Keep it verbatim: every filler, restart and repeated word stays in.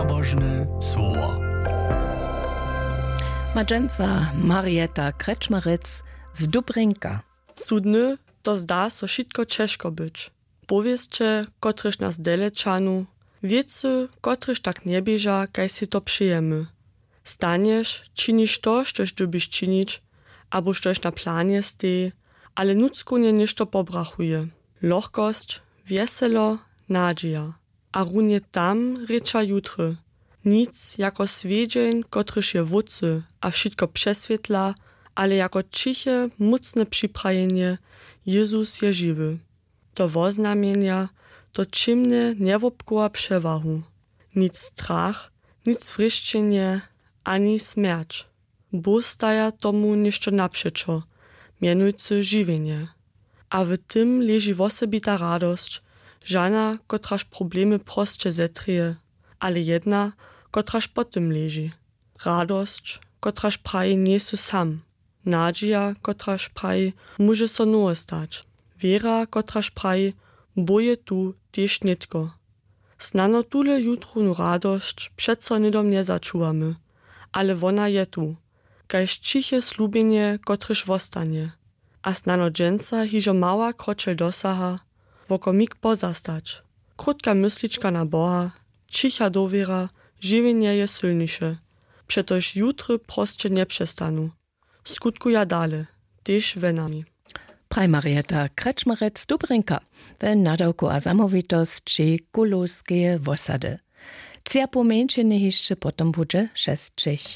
Pobožne słowo. Ma dźensa Marieta Krečmarec z Dubrinka. Su dny, to zda so wšitko ćežko być. Powěsće, kotrež nas dele ćahnu, wěcy, kotrež tak njeběža, kaž sej to přejemy. Stanješ, činiš to, štož dyrbiš činić, abo štož na planje steji, ale nutřkownje něšto pobrachuje. Lochkosć, wjeselo, nadźija. A runje tam rěča jutry. Nic jako swjedźeń, kotryž je wótcy a wšitko přeswětla, ale jako ćiche, mócne připrajenje: Jezus je žiwy. To woznamjenja, to ćěmne njewobchowa přewahu. Nic strach, nic wrěšćenje, ani smjerć. Bóh staja tomu něšto napřećo, mjenujcy žiwjenje. A w tym leži wosebita radosć, žana, kotraž problemy prosće zetrěje, ale jedna, kotraž po tym leži. Radosć, kotraž praji: Njejsy sam. Nadźija, kotraž praji: Móže so nowe stać. Wěra, kotraž praji: Bóh je tu, tež nětko. Snano tule jutrownu radosć přeco hnydom njezačuwamy, ale wona je tu, kaž ćiche slubjenje, kotrež wostanje. A snano dźensa hižo mała kročel dosaha, wokomik pozastać. Krótka myslička na Boha, ćicha dowěra: Žiwjenje je sylniše, přetož jutry prosće njepřestanu. Skutkuja dale, tež we nami. Praj Marieta Krečmarec z Dubrinka we nadawku a zamołwitosći Kulowskeje wosady. Tři a poł mjeńšiny hišće potom budźe šesćich.